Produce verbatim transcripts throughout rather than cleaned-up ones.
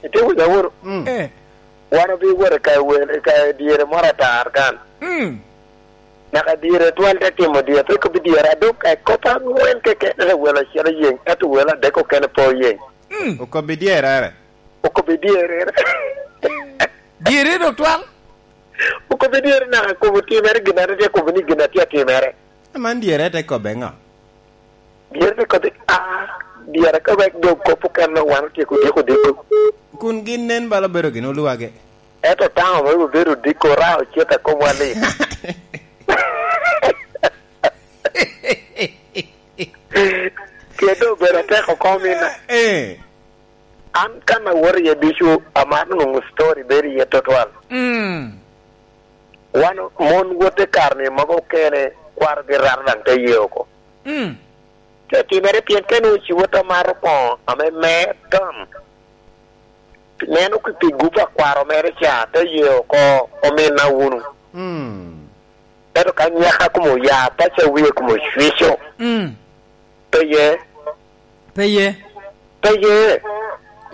Itye winyo awuro? Mm. Eh. Wan obi wot i ka wel, i ka dyere moro atar kan. Mm. Naka dyere twal te timo dyere, pe kobbi dyere adok, ka kop angwen keken, ento wel acel oyeŋ, ento wel adek okene pe oyeŋ. Mm. Okobbi dyerere. Okobbi dyerere. Dyere dok twal? Okobbi dyere naka kobo timere gin a tye kobo ni gin a tye atimere. Aman dyere te kobbe ŋo? Dyere te kobbe, ah, dyere ka wek dog kop okene wan otyeko dyeko diko. Kun gin nen bala obedo gin olwage. Ento taŋo me obedo diko ra ocet a komwa ni. Kede obedo atek oko mina. Eh. An kan awot iye ducu, amaro nwoŋo story bedo iye tutwal. Mm. Wan mon wot i kare-ni mogo okene, kwarogi rato daŋ te ye oko. Mm. Te timere pien ka nwoŋo ci wot amaro koŋo ame mer ton. Neno ki pi gup a kwaro mere ca, te ye oko, ominna wunu. Mm. Ento ka nyaka kumo ya, paco wie kumo cwico. Mm. Pe ye. Pe ye. Pe ye.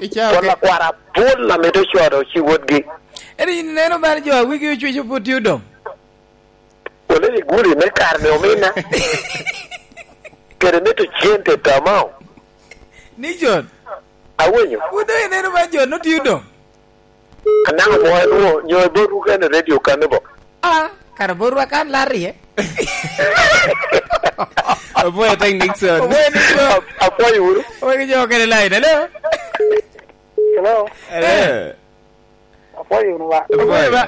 Icao Pol ke- akwara pol ame te codo ci wotgi. Eri ineno bal jo a wigi ocwico pwod tye odong. Wole i guli me kare ni omina. Kede mito cente tamao. Ni John. Awinyo. Wun doŋ ineno bal jo no tye odong. Anaŋo mo en wo, nyo bot ruka en radio kane bo? Ah, kara bot ruka kan larrie. Oboyo tek Nixon. Oboyo Nixon. Ap-, apwoyo wunu. Oboyo jo kene line, hello? Hello? Hello. Eh. Apwoyo wunu ba? Apwoyo ba?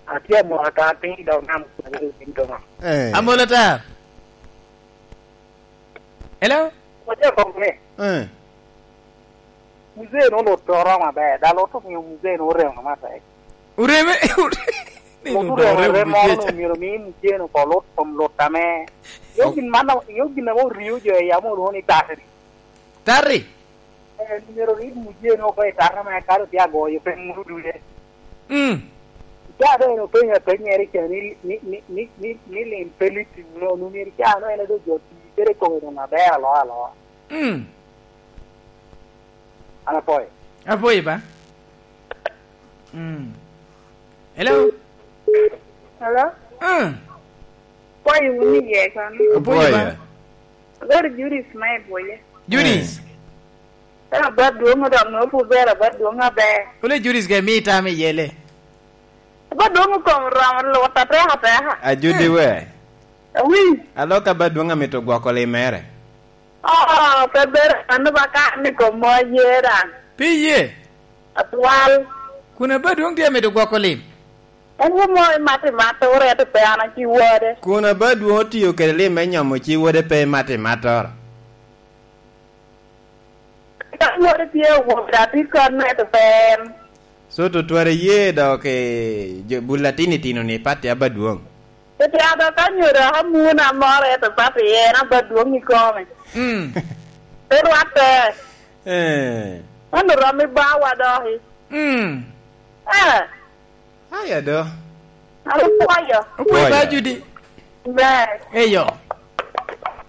Atye amoro ata piny dok nam kuno piny doŋo. Eh. Amolo ta. Hello? Waco kong ni. Eh. Muzee no lut oromo aber, da lut omiyo muzee no oremo matek. Oreme, ni lut oremo moro no myero mi muzee no ko lut kom lut ame. Yo gin man, yo gin ame orio jo e yamo olwoŋo ni tari. Tari? Eh, myero rit muzee no ko e tari ame kalo tye agoyo pe muru duye. Mm. Ca doŋ en openyo apennyere ca ni, ni, ni, ni, ni, ni lim pe lit i wunu, nu myero ca no en a doŋ jo ti kede kome doŋ aber aloa aloa. Mm. An apwoyo. Apwoyo ba. Mm. Hello? Hello? Mm. Pwoyo wunu iye kan? Apwoyo ba. Apwoyo. Abedo Judith me Bwoye. Judith? Eh. Ero ba dwoŋ odok no pu bera ba dwoŋ aber. Ole Judith ke mi tam iye le. Ba dwoŋ okom romo lwot ateka ateka. Ajudi we. Awi. Aloka ba dwoŋ amito gwoko lim mere. Oh, pe bero ano ba ka ni kom mo ye daŋ. Pi ye? Atwal. Kun aba dwoŋ tye amito gwoko lim? En wo mo imat imat, oreto pe an aci wode. Kun aba dwoŋ otiyo kede lim me nyomo ci wode pe imat imattoro? Ka wode tye awobi, atye ka neto pe en. So, tutwal iye dok i jo, bul latin itino ni pati aba dwoŋ. Ete ada ka nyodo aka muna moro ete pati en aba dwoŋ i kome. Mm. Pe rwatte. Eh. Mano rom i bawa doki. Mm. Eh. Aya do. Alo pwoyo. Opwoyo ba Judi. Ber. Eyo.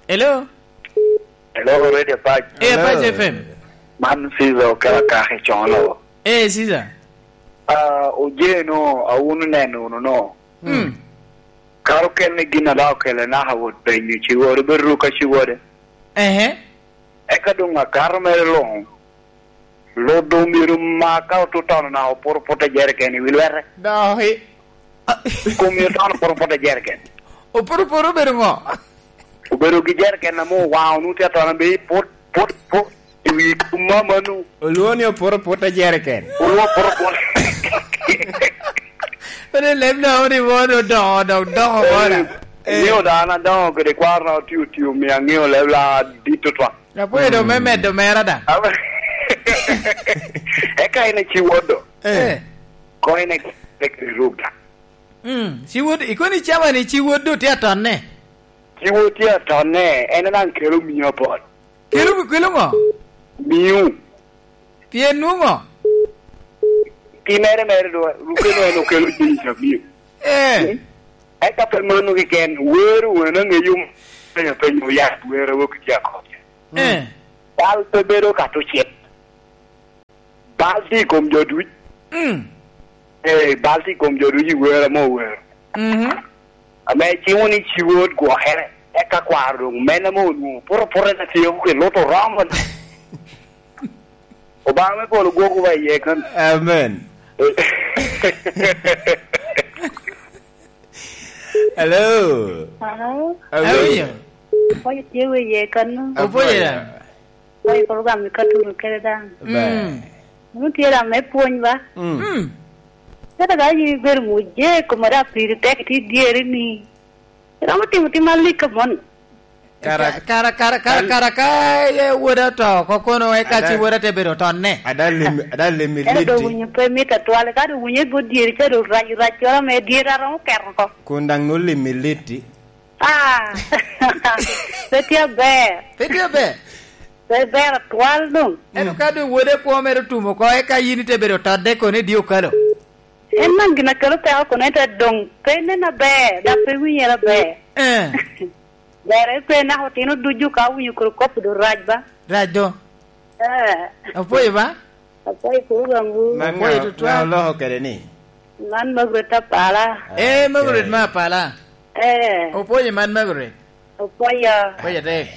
Hello. Hello, Radio Pac. Eh, Pac Hello. F M. Man Caesar Okela Kaki Cono. Eh, Caesar. Ah, ojeno, awunu neno wunu no. Mm. Karo kene gin a dok okele naka wot penyo ci wode, bedo ka ci wode. Ehe. Eka doŋ akato mere luŋ. Lodo myero ma ka otutono na oporo put a jeriken i wi lwete. Doki. Kom myero tono oporo put a jeriken. Oporo put obedo ŋo? Obedo gi jeriken ame owaŋo nu tye atono be put, put, put. I wi kom mamanu. Olwoŋo ni oporo put a jeriken. Olwoŋo oporo put. Pwede leb na odi mo ni odongo, dok dongo mo na. Eh, ŋeo da an adongo kede kwaro na otio tio, omio aŋeo leb la dit otwa. Apwoyo doŋ me medo mera da. Aba-, eka en aci wot do. Eh. Ko en aci wot da. Mm, ci wot, ikoni cawa ni ci wot do tye atonne? Ci wot tye atonne, en daŋ kelo mia apol. Kelo, kelo ŋo? Miu. Pien nwoŋo? Pi mere mere do, rukeno en okelo jenis amiu. Eh. Mm. Eka pe mano keken, wero wena ŋeyo penyo penyo ya wero wok tye akop. Eh. Pal pe bedo ka tucit. Bal tye i kom jo duc. Mm. Eh, bal tye i kom jo duc i wer ame owero. Mhm. Ame cimo ni ci wod gwokere, eka kwaro doŋ meno ame onwoŋo poto poto en atye kuke luto romo. Obaŋa me polo gwokwu ba iye kan. Amen. Hello. Hello. Hello. Hello. Oya tye we ye kano. Opo ye. Oya program ni katuru kere dan. Ba. Mm. Unu tye da me pwony ba. Mm. Mm. Kata ka yi ber muje kuma da piri tek ti dieri ni. Romo timo tim alik ka mon. Kara, kara, kara, kara, kara, ka ye woda to, ko kono eka ci woda te bedo tonne. Ada lemi, ada lemi liti. Ero do winyo pe mit atwale, ka do winyo i bot dyeri, ca do rac, rac coro me dyeri aromo keto ko. Kun daŋ no lemi liti. Ah, pe tye aber. Pe tye aber. Pe ber atwal dong. Ento ka dong wode kwo mere otum oko, eka yin ite bedo todde kono i dye okalo. En man gin a kelo peko kono, ento doŋ pe nen aber, dok pe winyere aber. Eh. Ber en pe naka otino ducu ka owinyo kodi kop do rac ba. Rac do. Eh. Apwoyo ba? Apwoyo kodi baŋwu. Man Apwoyo ŋa, tutwal. Ŋa oloko kede ni? Man Margaret Apala. Eh, Margaret ma Apala. Eh. Opwoyo man Margaret. Opwoyo. Opwoyo te.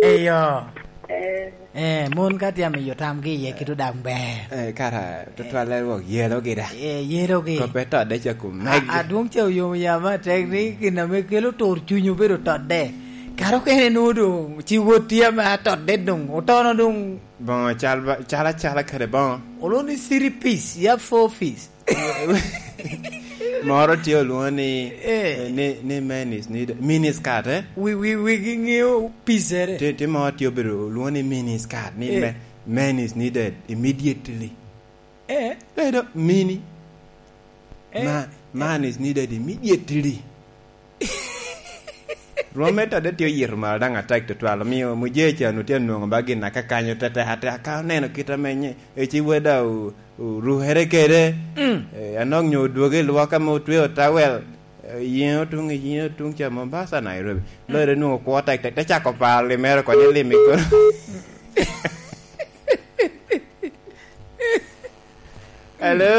Eyo. Eh. Eh, mon ka tye amiyo tamgi iye kit odaŋ ber. Eh, kara tutwalle wok yelogi da. Eh, yelogi. Koppe todde ca kum megi. A, adwoŋ ca oyomo yam atek ni gin ame kelo tur cuny obedo todde. Kara okene nwoŋo doŋ ci wot tye ame atodde doŋ, otono doŋ. Boŋo cal ba, cal acala kede boŋo. Olo ni three piece, ya four piece. Moro tye olwoŋo ni, eh, ni, ni men is needed, mini skirt, eh? Wi, wi, wigi ŋeo picere. Ti, ti moro tye obedo olwoŋo ni mini skirt, ni, eh, me-, men is needed immediately. Eh? Ledo mini. Eh? Ma-, man is needed immediately. Rwom me todde tye oyito malo daŋ atek tutwal, omio mujee ca onwoŋo tye anwoŋo ba gin akakanyo tetek atek, ka oneno kit ame nye-, eci weda o-, orukere kede, mm, eh, anok nyo odwogo i lwak ame otweo tawel, eh, yiŋe otuŋ, yiŋe otuŋ ca Mombasa, Nairobi. Mm. Lore nwoŋo kwo tektek, te cako paro limere oko ni lim i kono. Hello.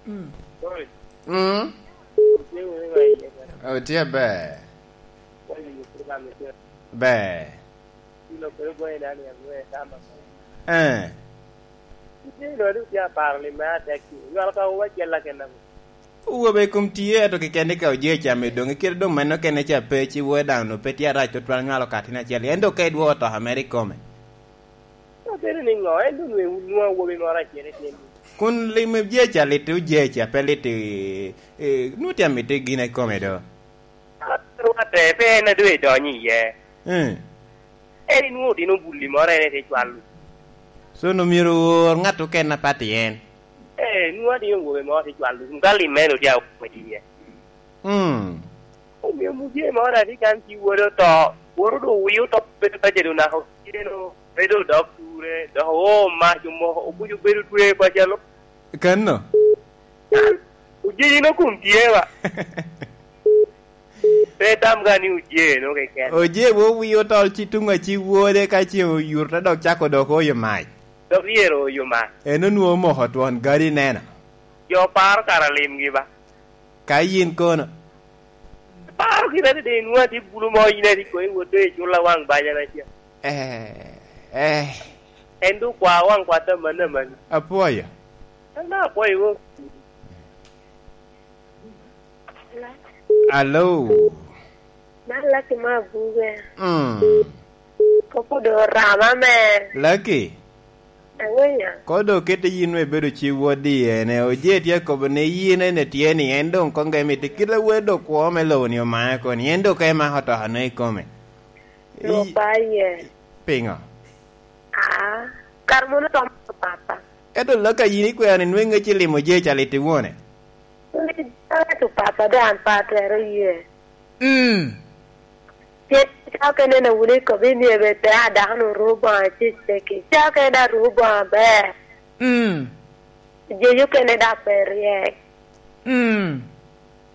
Mm. Sorry. Mm. Otye wunu i wa iye ka. Otye aber. Wali yo program ni tye. Ber. Kilo kwe gwe dani ya gwe tama. Eh. Kite lo du tye aparo ni me atek. Ywal ka wa jella kena. Owobe i kom tye, ento keken ni ka oje cam i doŋ, kite doŋ meno kene ca pe, ci woo daŋ onwoŋo pe tye arac tutwal nywalo katino acel, en dok ka idwoko to mere i kome. Obedo ni ŋo? En doŋ nwoŋo, nwoŋo awobi moro acel i tyen. Kun lim oje ca lit, oje ca pe lit i, i, nwoŋo tye amito gin i kome do. Rwatte, pe en a doŋ idonyo iye. Eh. En inwoŋo otino bulli moro en ete cwalo. So, onwoŋo myero owor ŋat oken apat i en. Eh, nwoŋo atye awobe moro te cwalo. Kun ka lim meno tye awobe iye. Mm. Omio mujee moro atye kan ci wode oto. Wode odo wi oto bedo ka jedo naka otyeno. Bedo dok ture, dok oo mac omoko, obuco bedo twe pacalo. Kano? Ojejino kun tye wa. Pe tam ga ni oje no keken. Oje wo wi otol ci tuŋ a ci wode ka ce oyurte dok cako dok oyo mac. Dok yero oyo mac. En onwoŋo omoko twon gadi neno. Jo paro kara limgi ba. Ka yin kono? Paro kite adada, inwoŋo atye bulu mo, yin ati koŋ iwot doŋ icula waŋ banya na ca. Eh, eh. En doŋ kwa waŋ kwat amanni amanni. Apwoyo. An daŋ apwoyo wo. Alo. Man Lucky me Abuge. Mm. Kop-pu doŋ orama me. Lucky. Aŋeya. Ko doŋ kete yin me bedo ci wodi ene, oje tye akobo ni yin ene tye ni en doŋ koŋ ge miti kit awer doŋ kwo me lobo ni omae koni, en doŋ ka emako otokane i kome. Rwot I-, ba iye. Piŋo? Aa, kara mono romo papa. Ento laka yin ikwero ni nweŋ ŋec ilimo je ca lit iwone. Lit ento papa doŋ an pe atwero ye. Mm. Pien ca okene na wun ikobo ni ebe pe a dako-nu ru boŋo aceceki. Ca okene daŋ ru boŋo aber. Mm. Jejo okene daŋ pe ryek. Mm.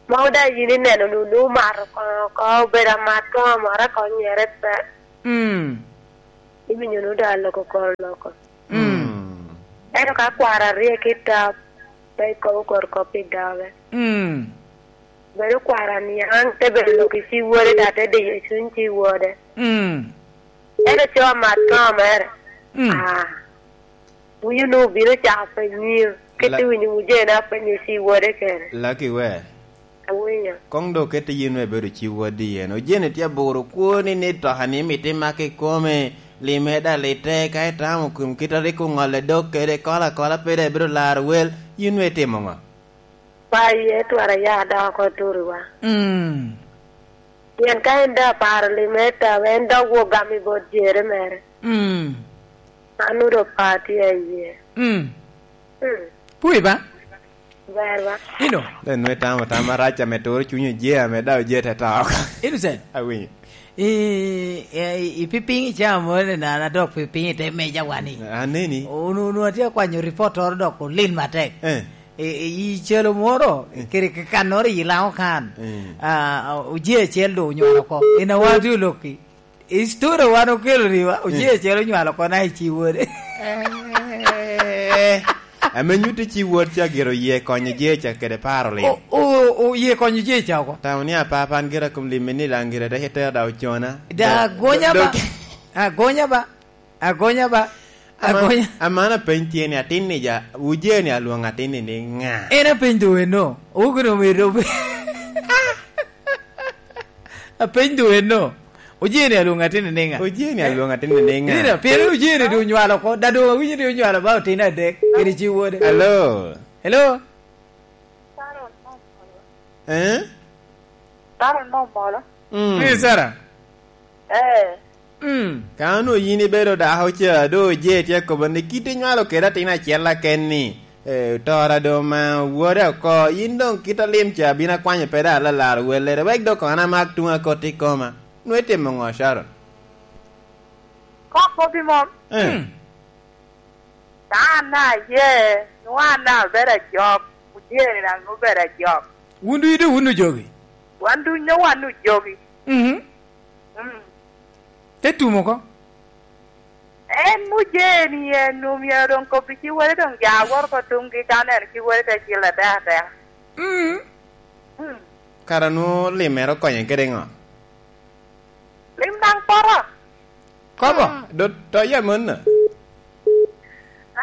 Mogo daŋ yin ineno nu, nu mato koŋo oko, obedo amat koŋo amata koŋ nyere pe. Mm. Iwinyo nu daŋ aloko kor loko. Mm. Ento ka kwaro aryek i tap, pe ikobo kor kop i doge. Mm. Bedo kwaro aniaŋ, te bedo lok i ci wode, da te diyo cuny ci wode. Mm. Ento co amat koŋo mere. Mm. Ah. Winyo nwoŋo obino cako penyo, kit La- iwinyo mujene apenyo ci wode kene. Lucky we. Awinyo. Koŋ dok kette yin me bedo ci wodi yen. Ojene tye aboro kwoni ni toka ni miti mak i kome, lime da lite, ka itamo kom kit a rik oŋolle dok kede, kola kola pe da ibedo laro wel, yin me timo ŋo? Pa iye twara ya da oko turiwa. Mm. Pien ka en da paro lime ta, en dok wo gam i bot jere mere. Mm. An odo pa tye a iye. Mm. Mm. Pui ba? Ber ba? Ino. Le nwe tamo tam arac ame turo cunyo je ame da oje te to oko. Innocent. Awinyo. I, i, i pipiny i caa moro ni nana dok pipiny i te meja wani. Aneni. Unu, unu atye akwanyo report oro dok olil matek. Eh. I, i, i celo moro, eh, kede k-, kannoro i Laŋo kan. Eh. Ah, ah, ojee acel do onywalo oko. In awa tye olokki. I story wan okelo riwa, ojee acel onywalo oko na i ci wode. Eh. Ame nyutti ci wod ca gire oye konyo jee ca kede paro lim. O, o, o, oye konyo jee ca oko. Tamo ni apapa an gira kom lim ni lang gira dek itera da ocona. Da agonya ba. Agonya ba. Agonya ba. Ama-, agonya. Amana peny tye ni atin ni ja, wuje ni alwong atin ni ni ŋa? En apeny do eno. Oguno medo. Apeny do eno. Ojeni alwong atin ni ŋa? Ojeni alwong atin ni ŋa? Nina, pien ojeni do onywalo ko, da do awinyo do onywalo ba otin adek, kede ci wode. Hello. Hello. Eh? Sara no molo. Mm. Ni Sara. Eh. Mm. Ka onwo yin ibedo dako ca, do je tye akobo ni kit inywalo kede atin acel aken ni, eh, tora do ma wode oko, yin dong kit alim ca bino akwanyo pe da alalaro wellere, wek dok an amak tuŋ akot i koma. Nwe timo ŋo, Sharon? Kok kobbi mom. Eh. Mm. Ka an aye, nwoŋo an abedo ajok, ojeni daŋ obedo ajok. Wun ducu doŋ wun ojogi? Wan ducu nwoŋo wan ojogi. Mhm. Mm. Te tumo oko? En ojeni en omyero doŋ kobbi ci wele doŋ ja awot oko tuŋgi ka oneno ci wele te cil atek ateka. Mm. Mm. Kara nwoŋo limere okonye kede ŋo? Lim daŋ poto. Kobo? Ah, do, to ya monna.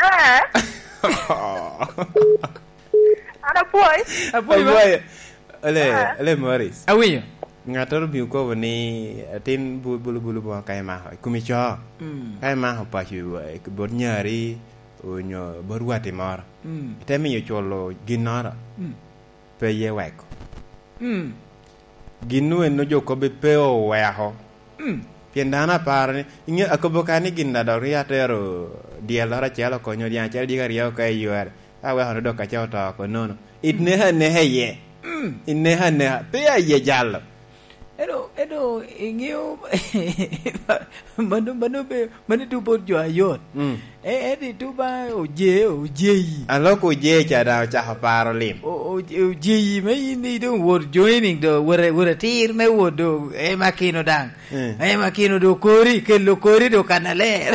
Eh. An apwoi. Apwoi ba? Apwoi. Ole, ah, ole Morris. Awinyo. Ŋattoro bino kobo ni atin bu-, bulu bulu boŋo ka imako, i kumi co. Mm. Ka imako paco, eh, bot nyari, onyo bot watti moro. Mm. Ite miyo culo ginnoro. Mm. Pe ye weko. Mm. Gin nu en ojo kobbe pe oweko. Mm. Pien dano aparo ni, inge-, akobo ka ni gin da dok ri atero dyelloro acel okonyo dyaŋ acel dyegi aryo ka i yore, ka aweko ni dok aca oto oko nono. It neka neka iye. Mm. It neka neka. Pe aye jalo. Eno, eno, iŋeo, mano, mano be, mano tubo jo ayot. Mm. E, en ituba oje, ojeyi. Aloko oje ca daŋ ocako paro lim. O, o, ojeyi me in ni doŋ wot joining do, wot, wot atir me wot do, e makino daŋ. Mm. E makino do kori, kelo kori do kan aler.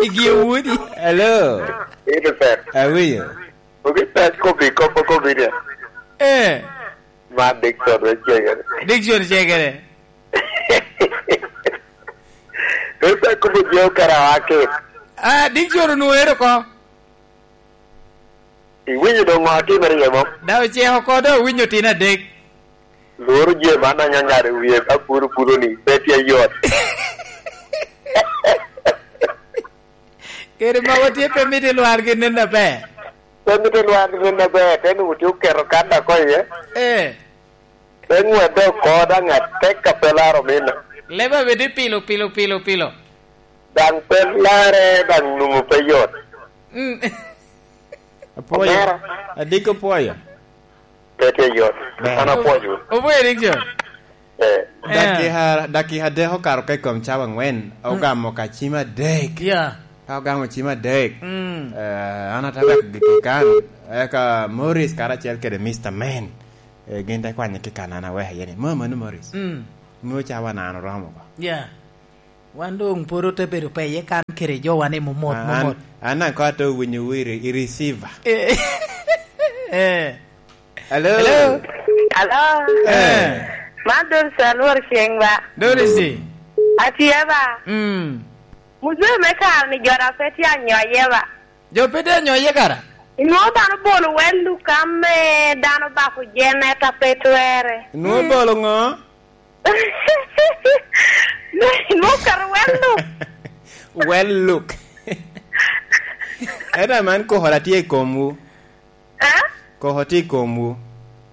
Igi wodi. Hello. Ito pet. Awinyo. Ogi pet kopi, kopo kopi dia. Eh. Ma Dickson wek cegere. Dickson cegere. Esa kubo jo kara wake. Ah, Dickson onwoŋo ero ko. Iwinyo doŋ ŋo atimere iye mom? Da oceko ko, da owinyo tin adek. Lworo je man aŋaŋar i wie ka puro puro ni, pe tye yot. Kede ma watye pe mito lwargi nen aber. Pe mito lwargi nen aber, te nwoŋo tye oketo kan oko iye. Eh. Te ŋwedde oko daŋ atek ka pe laro mino. Leba bedi pilo, pilo, pilo, pilo. Daŋ pe lare, daŋ nwoŋo pe yot. Mm. Apwoyo. Omera. Adiko pwoyo. Pe tye yot. Ber. An apwoyo. Opwoyo rik jo. Eh. Eh. Dakika, dakika adek okato ka i kom cawa angwen. Mm. Ogamo ka cim adek. Yeah. Ka ogamo cim adek. Mm. Eh, an atye wek giki kan. Eka Morris karacel kede Mister Man. Eh, gin te kwanye ki kan an aweko iye ni, "Mo mano Morris." Mm. Mo cawa nano romo ba. Yeah. Wan doŋ pwod ote bedo peye kan kede jowa ni momot, an, momot. An daŋ kɔŋ atye winyo i re-, i receiver. Eh. Eh. Hello? Hello? Hello? Eh. Man Doris Anwar Ceng ba? Doris. Atye ba? Mm. Muzee me kare ni jo daŋ pe tye anyoye ba? Jo pe tye anyoye kara? Inwoŋo dano bolo wel lukam me dano bako jene ka pe twere. Inwoŋo, mm, bolo ŋo? Inwoŋo keto wel luk. Wel luk. Ento man koko tye i komwu. Eh? Koko tye i komwu.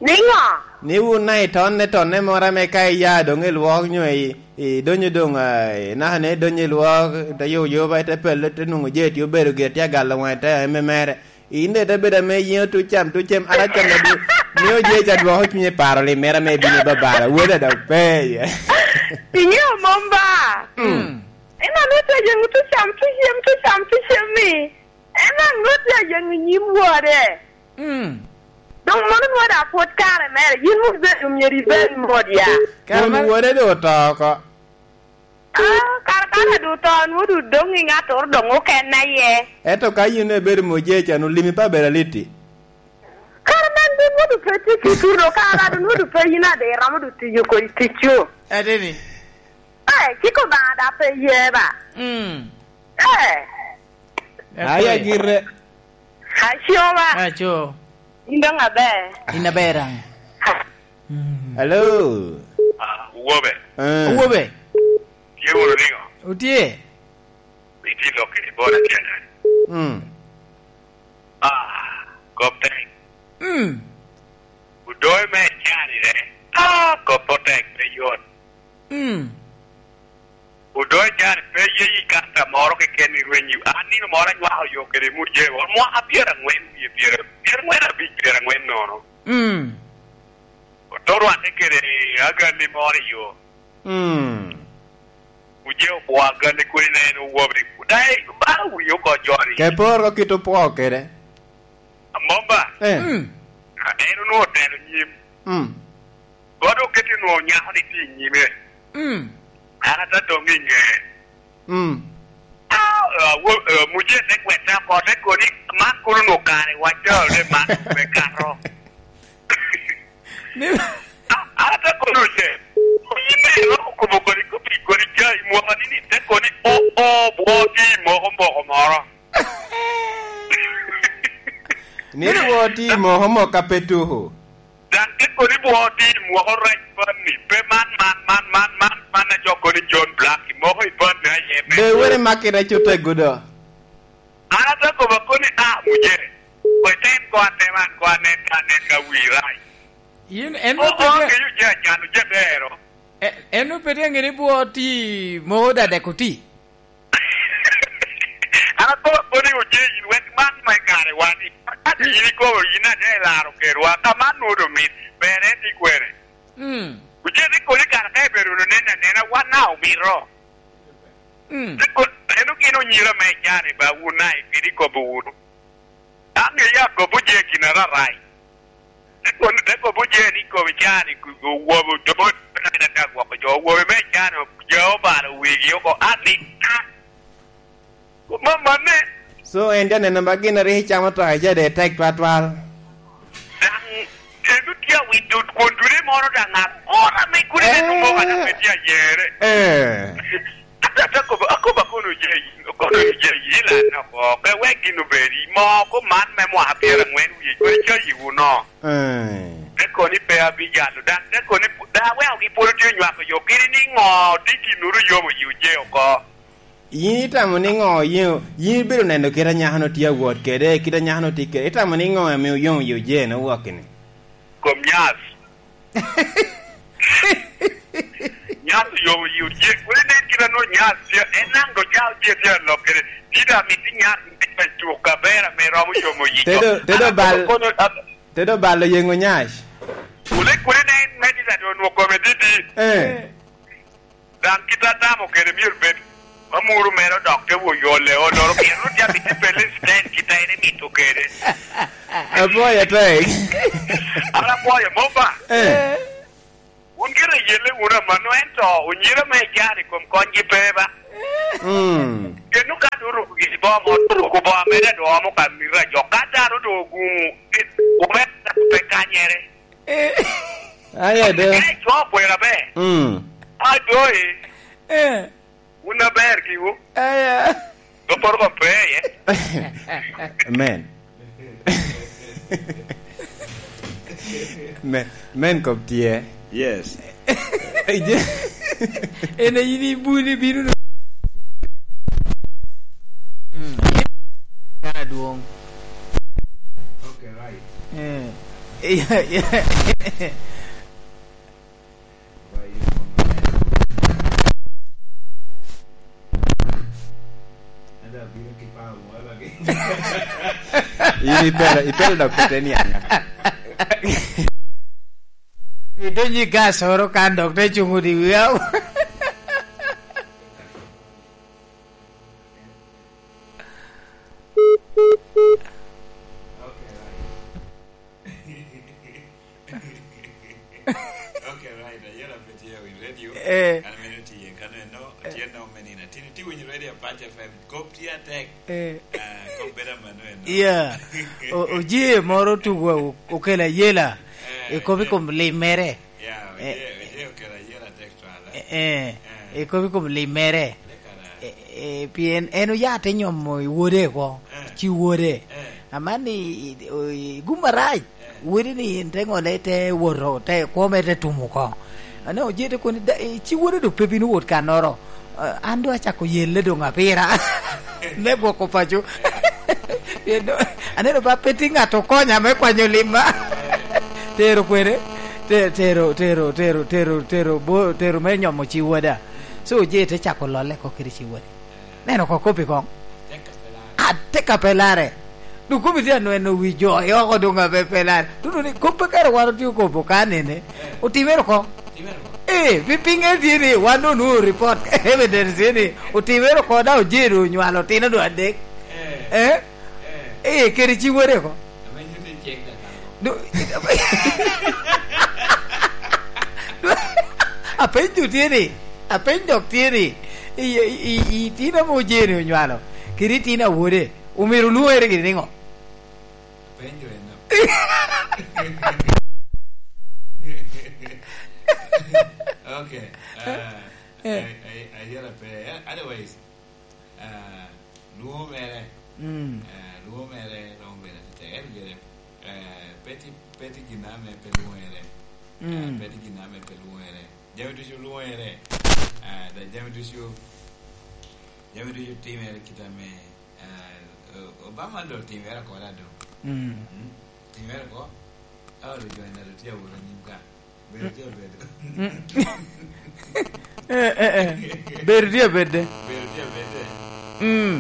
Niŋo? Ni wun na itonne, tonne moro ame ka iya doŋ i lwok nyo i, i donyo doŋ, ah, inaka ni idonyo i lwok, ite yubo yuba, ite pelle, ite nwoŋo jeti obedo gire tye agalo waŋe, ite eme mere. In daŋ ite bedo ame yin otuc cam, tuc cem, ara cam adu, mio jeci adwoko cunye paro lim mere ame ibino i babara, wele daŋ pe iye. Iŋeo mom ba? Mm. En ame ote yeŋo tuc cam, tuc cem, tuc cam, tuc cem ni. En aŋo tye ayeŋo i nyim wode? Mm. Doŋ mano nwoŋo daŋ pwod kare mere, yin mom ibedo myero ibed mot ya. Kare won mere wode doŋ oto oko. Ah, kare ka ame doŋ oto, nwoŋo doŋ doŋ i ŋattoro doŋ okene aye. Ento ka yin ibedo mot jeci, an olimi pe abedo aliti. Kare man doŋ nwoŋo doŋ pe tye ki tuno, kare doŋ nwoŋo doŋ pe yin ade iromo doŋ tiyo kodi ticcu. Ateni. Eh, cik Obaŋa daŋ pe ye ba? Mm. Eh. Aya gire. Aco ba? Aco. In doŋ aber? In aber aŋ? Mm. Hello? Ah, Owobe. Eh. Owobe. Tye wunu niŋo? Otye. Itye lok kede bot atyena. Mm. Ah, kop tek. Mm. Odoyo me canire. Ah, kop otek pe yot. Mm. Odoyo can pe ye i kanta moro keken i rwenyi. An nino moro anywako yo kede Mujee, mwaka pyeraŋwen wie pyera-, pyeraŋwen abic, pyeraŋwen nono. Mm. Oto rwatte kede agalli moro i yo. Mm. Mujee opwo agalli kodi na en owobe. Daŋ bala wiye oko jori. Ke poro kit opwo kede. Amomba. Eh. Mm. En onwoŋo otelo nyim. Mm. Kono oketi nwoŋo nyako ni tye i nyime. Mm. An ata doŋ i ŋe. Mm. Ah, ah, wo-, ah, Mujee te gwetta oko, te koni, "Man kono onwoŋo kare wacce, ole man me kato." Ni ah, an ata kono ce. Yin me iroko kobo koni, kobi koni ca i mwaka ni, ni te koni, "O, o, bwo ti moko moko moro." Ni bwo ti moko moko a pe tuko. Daŋ te koni bwo ti mwoko rac panni, pe man, man, man, man, man, man a jo koni John Black, moko i panni aye me. Be wene makki rac oteggo do? An ata kobo koni, "Ah, Mujee, kwe ten ko ateman ko anen ka anen ka wi rac." Yin en o, o, pe te-, ngeyo je acano je bero. E-, en o pe te ngeyo ni bwo ti moko dadek oti? An akobo koni oje yin wek man me kare wani. Ka yin ikobo yin ane ilaro kerwa, ka man nwodo mit, ber en ni kwene. Mm. Oje ni koni kara ka ibedo wunu neno anena, wan na omito. Mm. Te ko-, en ogin onyira me icani ba wun na ikedi kobo wunu. An ŋeyo akobo je gin ararai. Te kono, te kobo je ni kobo cani ku-, owobo domo, na, na, na, gwoko jo, owobo me cani, jo obalo wigi oko, an ni, ah. Mom manne. So, en te neno ba gin a rik icamo to, ice de tek twatwal. Daŋ, kendo tye awinyo kwon dule moro daŋ agora me kuli me numo ka daŋ pe tye ayere. Eh. Ate, ate akobo, akobo akono je, akono je, ilan oko, pe wek gin obedi, mo ko man me mwaka pyeraŋwen wie, kodi cayi wuno. Eh. Te koni pe abijalo, daŋ te koni, daŋ aweko gi pwod tye onywako yo, kidi ni ŋo, tye gin uru yomo yi oje oko. Yin itamo ni ŋo? Yin, yin ibedo neno kit a nyako-nu tye awot kede, kit a nyako-nu tye kede. Itamo ni ŋo ame oyomo yi oje-nu wok-kini? Kom nyas. Nyas oyomo yi oje. Kodi nen kit a nwoŋo nyas tye, en naŋ doŋ ca oje tye alok kede. Tye doŋ amito nyas me tuk aber ame romo yomo yi. Tedo, tedo bal, kono, a- tedo bal oyeŋo nyas. Kodi, kodi nen me tye doŋ onwoŋo kome didi. Eh. Daŋ kit a tamo kede myero bed, amuru mere odok te woyo ole, oloro pien Rwot yam mito pele sten kit a en emito kede. Apwoyo atek. An apwoyo mom ba. Eh. Wun gire yelle wunu amanno, ento onyira me ican i kom konygi pe ba? Mm. Keno ka doŋ oruko gin boŋo, oruko boŋo mere doŋ omo ka mito a jo. Ka dano doŋ ogumo, omedde pe kanyere. Eh. Aye de. Ka ico kwena be. Mm. Adoyi. Eh. Wun aber giwu. Aya. Dopporo ko pe iye. Amen. Men, men kop tye. Yes. Ije. En a in ibuni bino no. Mm. Kana dwong. Okay, right. Eh. Yeah, yeah. In ipelo, ipelo dok pete niaŋa. Idonyo i gas oro kan dok te cuŋ odi wia. Okay, right. Ayela pe tye i radio. Eh. An mene tye kano eno, eh, tye no mene na. Tini ti winyo radio Pacha F M. Kop tye atek. Eh. Ah, kop bedo mano eno. Yeah. O-, oje moro tugo o-, okelo ayela. Eh, i kop i kom lim mere. Yeah, eh, oje, oje okelo ayela atek twala. Eh, eh. Eh. I kop i kom lim mere. Leka da. Eh, eh, pien en oya te nyomo i wode oko, eh, ci wode. Eh. Aman ni i, i, i gum arac. Wodi ni en te ŋole te woto, te kwome te tumo oko. Ane oje te koni, "Da-, eh, ci wode do pe bino wot kannoro. Eh, an do acako yelle doŋ apira." Me gwoko paco. Pien do, aneno ba pe tye ŋat okonya me kwanyo limma. Tero kwene, te-, tero, tero, tero, tero, tero, bo-, tero me nyomo ci woda. So oje te cako lolle oko kede ci wode. Neno ko kop i koŋ. Atek a pe lare. Dok kop itye anweno wi jo i oko doŋ a pe, pe lare. Tutu ni kop pe kare wan otye okobo ka nene. Otimere oko. Ee, pi, piŋe tye ni wan doŋ onwoŋo report evidence tye ni otimere oko, daŋ oje doŋ onywalo otino doŋ adek. Eh? Ee, kede ci wode oko. Do-, do-, apenyo tye ni, apeny dok tye ni, i, i, i, i tino ame ojeni onywalo, kede i tino a wode, omyero olwoŋere gini niŋo? Apenyo en. Okay. Ah, eh, eh, ayera pe. Otherwise, ah, lwongo mere, mm, ah, lwongo mere romo bedo atek. Ento gire, eh, pe tye, pe tye gin ame pe lwongere. Mm. Eh, pe tye gin ame pe lwongere. Jami ducu lwongere. Ah, da jami ducu, jami ducu timere kit ame, eh, O-, Obama doŋ timere oko da doŋ. Mm. Mm. Timere oko. Ah, olo jo ena doŋ tye awot anyim ka. Bedo tye abedo. Mm. Eh, eh, eh. Bedo tye abedde. Bedo tye abedde. Mm.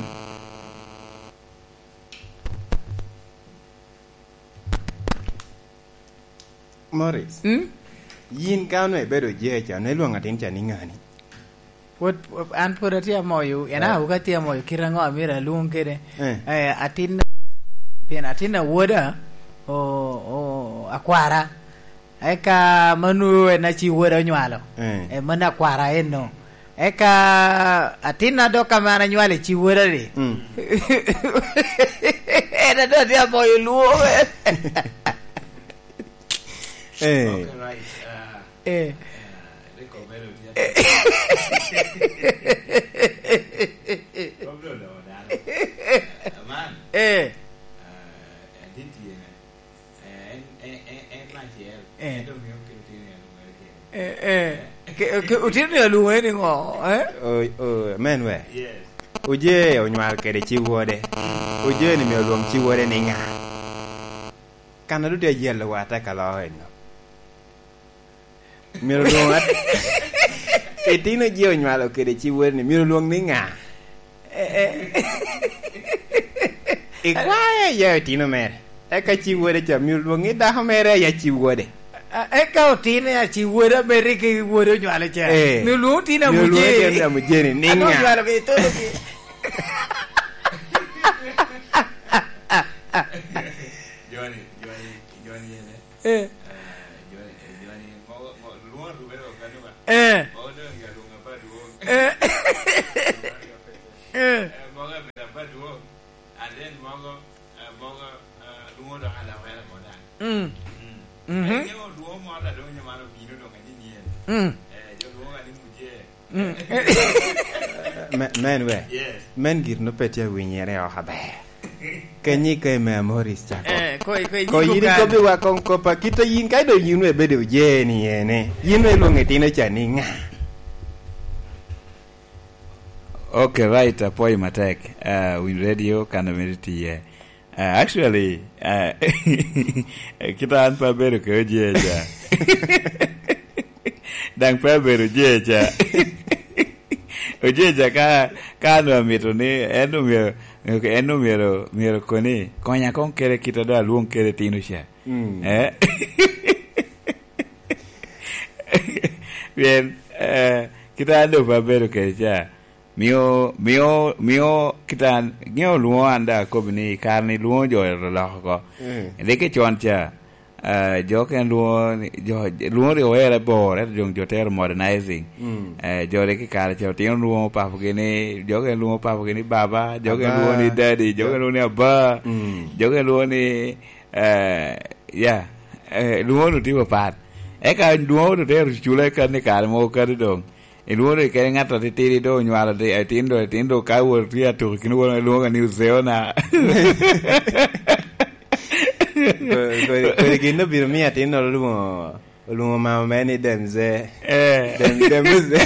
Morris. Mm? Yin ka onwego ibedo oje ca, onwego ilwoŋo atin ca ni ŋani? Pwod, an pwod atye amoyo, en, eh, awobi atye amoyo kit aŋo amyero alwoŋ kede? Eh. Eh, atin, pien atin awoda, o-, o-, akwara. Eka mano en a ci woda onywalo. Eh. Eh, mano akwara eno. Eka atinna dok ame an anywalo i ci woda-ni. Mm. En a dok atye amoyo lwongo. Eh. Okay, right. Ah, eh, ah, rik obedo tye. Kop dong odoko dano. Ah, man. Eh. Ah, adit tye ne. Eh, en, en, en, en me acel. Eh. En dong mio kelo tino i alwore kene. Eh, eh. Eh? Ke, ke, otino ni alwore ni ŋo, eh? O, o, amen we. Yes. Oje onywal kede ci wode. Oje ni mio lwong ci wode ni ŋa? Kan a dute ayelo wa ata ka loo eno. Myero lwong at-, itino je onywalo kede ci wode ni, myero lwong ni ŋa? Eh, eh. Ikwae ya itino mere. Eka ci wode ca, myero lwong ni dako mere ya ci wode. A, eka otino ya ci wode, mere ki wode onywalo ca. Eh. Myero lwong otino amuje. Myero lwong otino amuje ni, ni ŋa? Onywalo ki tolo ki. Johnny, Johnny, Johnny, ene. Eh. Eh, jo-, eh, joni, mo, mo, lwongo rubere wa kano ba? Eh. Mo, dong ya lwongo apa dwong? Eh. Mogo, eh, mogo, eh, lwongo dok alawera mo daŋ. Mm. Mm. Mhm. Eh, ŋeo lwongo mo ta dong nyo man obino dong anyinyien. Mm. Eh, jo lwongo ni muje. Mm. Me-, men we. Yes. Men gir no pe tye awinyere oko aber. Kenyi ka ime Amoris cako. Eh, ko, ko, ko yini kobbi wa kong kopa kita yin ka do yin we bedo ojeni ene. Yin we lwongo itino ca ni nga? Okay, right, apwoyo matek. Uh, Win Radio, kan omito tiye. Uh, actually, uh, kita an pa bedo ke ojeja. Dang pa bedo ojeja. Ojeja ka, ka an amito ni, en omyero, en omyero, myero koni, konya kong kere kita do alwong kere tino ca. Mm. Eh? Pien, eh, kita an doŋ pe abedo kede ca. Mio, mio, mio kita an, ŋeo lwoŋo an daŋ akobo ni, kare ni lwoŋo jo oloko oko. Mm. Rik i con ca, eh, jo okene lwoŋo ni, jo, lwoŋo rik oero abor, ento doŋ jo tero modernizing. Mm. Eh, jo rik i kare ca otino lwoŋo papogi ni, jo okene lwoŋo papogi ni baba, jo okene lwoŋo ni daddy, jo okene lwoŋo ni aba, mm, jo okene lwoŋo ni Eh, ya. Eh, lwoŋo-nu tye papat. Eka lwoŋo-nu te ru cula i kan i kare mogo kadi doŋ. Ilwoŋo doŋ kede ŋat atitidi doŋ onywalo di-, atin doŋ, atin doŋ ka wot tye atuko i kin won, ilwoŋo ni Uzeona. Ko-, ko-, kodi gin obino miyo atinnoro lwoŋo, olwoŋo mama mere ni Demze. Eh. Dem-, Demze.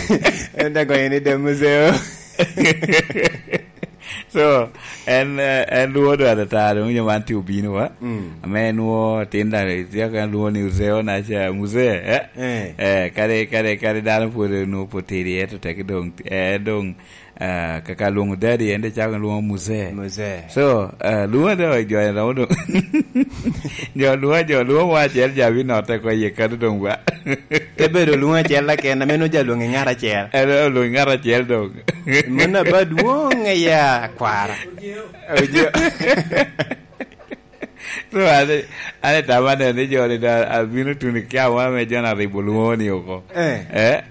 En te gonye ni Demze. So, en, eh, en lwodo atata, doŋ winyo man tye obino wa. Mm. Ame en wo tin da, tye ka lwoŋo ni Uzeo na ca, Muzee, eh? Eh. Eh, kadi, kadi, kadi dano pwod onwoŋo pwod tidi, ento teke doŋ, eh, doŋ, eh, kaka lwoŋo daddy, en de cako lwoŋo Muzee. Muzee. So, eh, lwoŋo de jo en romo doŋ. Jo lwoŋo, jo lwoŋo mo acel ja binotte oko i ye kadi doŋ wa. Te bedo lwoŋo acel keken, ame nwoŋo ja lwoŋo i ŋat acel. En olwoŋo i ŋat acel doŋ. Mano aba dwoŋ aya, kwara. Ojo. So, an, an etama neno ni joni da, abino tuno i kiawa ame joni aribo lwoŋo ni oko. Eh. Eh?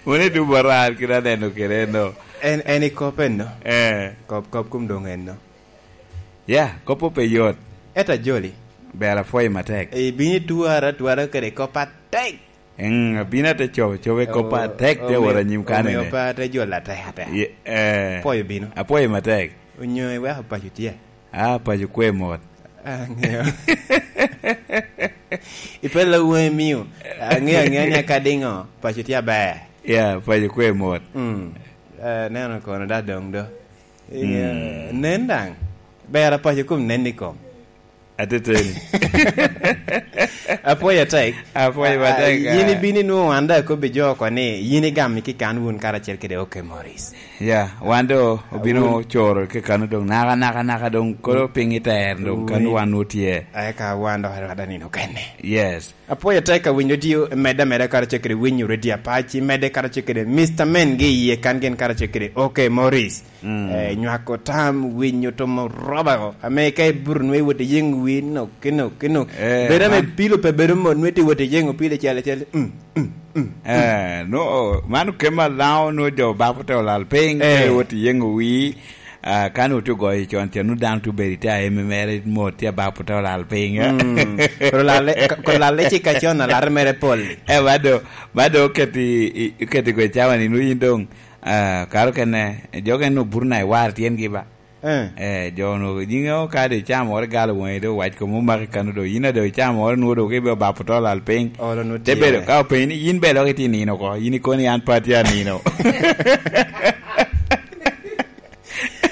Mano i tubo ran kit aneno kede no. En, en i kop enno. Eh. Kop, kop kum doŋ enno. Ya, kop pe yot. Eta joli. Ber apwoyo matek. Ibino itwara, twara kede kop atek. Mm, abino ate cobo, cobo i kop atek, te wot anyim kanene. Omio pe ate jolo atek atek. Ye, eh. Apwoyo bino. Apwoyo matek. Onyo iweko paco tye? Ah, paco kwe mot. Ah, angeo. Ipella weng mio. Angeo, angeo ni aka dingo, paco tye aber. Ya, paco kwe mot. Mm. Eh, neno kono da dong do. Mm. Eh, nen daŋ. Ber apaco kom nen i kom. Ateteni. Apwoyo atek. Apwoyo atek, ah, yin ah. Ibino inwoŋo wan daŋ akobbi jo oko ni yin igamo i kikan wun karacel kede Oke Morris. Ya, wan do obino coro kekano doŋ naka, naka, naka doŋ kolo piny i ter doŋ kan wan otye. Eka wan dok arwada nino kene. Yes. Apwoyo atek ka winyo tye medde ameda karacel kede winyo Radio Apac, medde karacel kede Mister Men gi iye kan gin karacel kede Oke Morris. Mm. Eh, nywako tam, winyo tomo roba go. Ame ka ibuto nwe iwot iyengo wi, no, kino, kino. Eh, bedo ame man pilo pe bedo mot, nwe ti wot iyengo pilo cel, cel. Mm, mm, mm. Eh, no, man okema lao, no jo babo te olal piny, eh, ka iwot iyengo wi, ah, kan wot ogoyo con, cen, no dano tu bedo te aeme mere mot, te babo te olal piny, eh. Mm. Koro lalle, ka-, koro lalle ci ka con alar mere pol. Eh, bado, bado oketi, i-, oketi gwe cawa ni, no yin dong, ah, karo kene, jo kene obuto na i war tyengi ba. Eh. Eh, jo onwoŋo, yin ŋeo ka doŋ icamo woro igalo waŋi, doŋ owac kom omaki kano doŋ, yin a doŋ icamo woro nwoŋo doŋ kibe obapo to lal piny. Olo nwoŋo tye. Te bedo, ka openyi ni, "Yin bene dok itye nino oko?" Yin ikono ni, "An pe atye anino."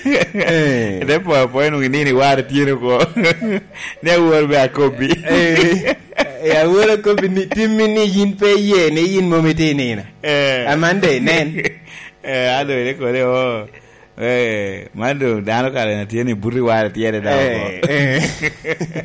Eh. Te po apoya nwoŋo inino iwaro tyeno oko. Ni awor be akobbi. Eh, eh, awor akobbi ni, timmi ni yin pe iye, ni yin mom itye nino. Eh. Amande, nen. Eh, alo, ine kode, oh. Eh, man doŋ dano kare na tye ni buto i wara tyene daŋ oko. Eh, eh.